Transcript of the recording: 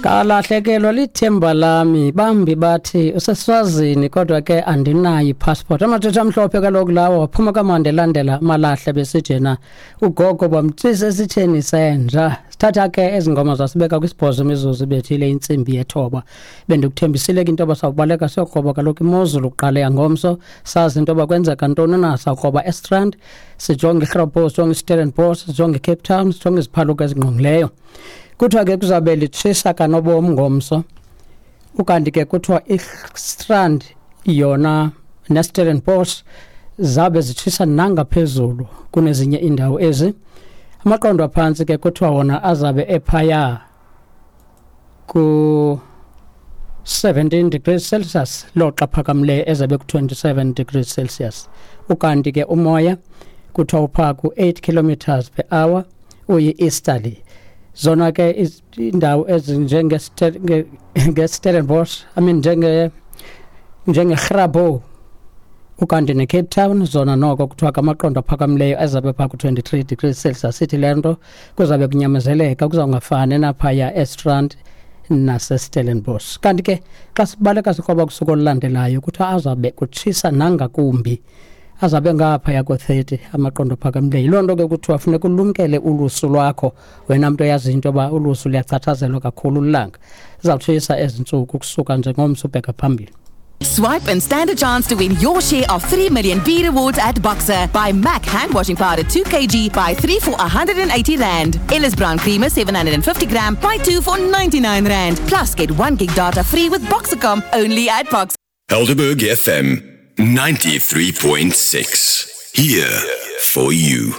Kalahlekelwa lithemba lami, bambi bathi useswazini, kodwa ke andinayo ipassport. Amathetha amhlophe kaloku lawo waphuma kaMandela elandela amalahle, besithi yena ugogo bamtsisa esitheni senja. Sithatha ke ezi ngoma zasibeka kwisibhozo imizuzu ibethile intsimbi yethoba. Bendikuthembisile ke into yoba sawubaleka siyokroba kaloku imozulu kuqala yangomso, sazi into yoba kwenzeka ntoni na. Sawukroba eStrand, sijonge iGrabos, sijonge iStellenbosch, sijonge iCape Town, sijonge iziphaluka ezingqongileyo. Kuthiwa ke kuzabe litshisa kanobom ngomso, ukanti ke kuthiwa iStrand yona neStellenbosch zabe zitshisa nangaphezulu kunezinye iindawo ezi. Amaqondo aphantsi ke kuthiwa wona azabe ephaya ku 17 degrees Celsius, loxa phakamileyo ezabe ku-27 degrees Celsius. Ukanti ke umoya kuthiwa uphaa ku-8 kilometers per hour, uyi-easterly. Zona ke indawo ezinjenge-Stellenbosch, I mean njenge-Grabouw ukanti neCape Town, zona noko kuthiwa kamaqondo aphakamileyo azabe phaa ku-23 degrees Celsius. Sithi le nto kuzabe kunyamezeleka, kuzawungafani naphaya eStrand naseStellenbosch. Kanti ke xa sibaleka sikroba kusuku olulandelayo, kuthiwa azabe kutshisa nangakumbi, azabe ngaphaya ko-30 amaqondo aphakamileyo. Yiloo nto ke kuthiwa funeka ulumkele ulusu lwakho, wena mntu oyaziyo into yoba ulusu luyachatshazelwa kakhulu lilanga. Zizawutshisa ezi ntsuku kusuka nje ngomso ubheka phambili. Swipe and stand a chance to win your share of 3 million B rewards at Boxer. Buy MAC hand washing powder 2 kg, buy 3 for 180 Rand. Ellis Brown creamer 750 gram, buy 2 for 99 Rand. Plus get 1 gig data free with Boxercom only at Boxer. Helderberg FM 93.6. Here for you.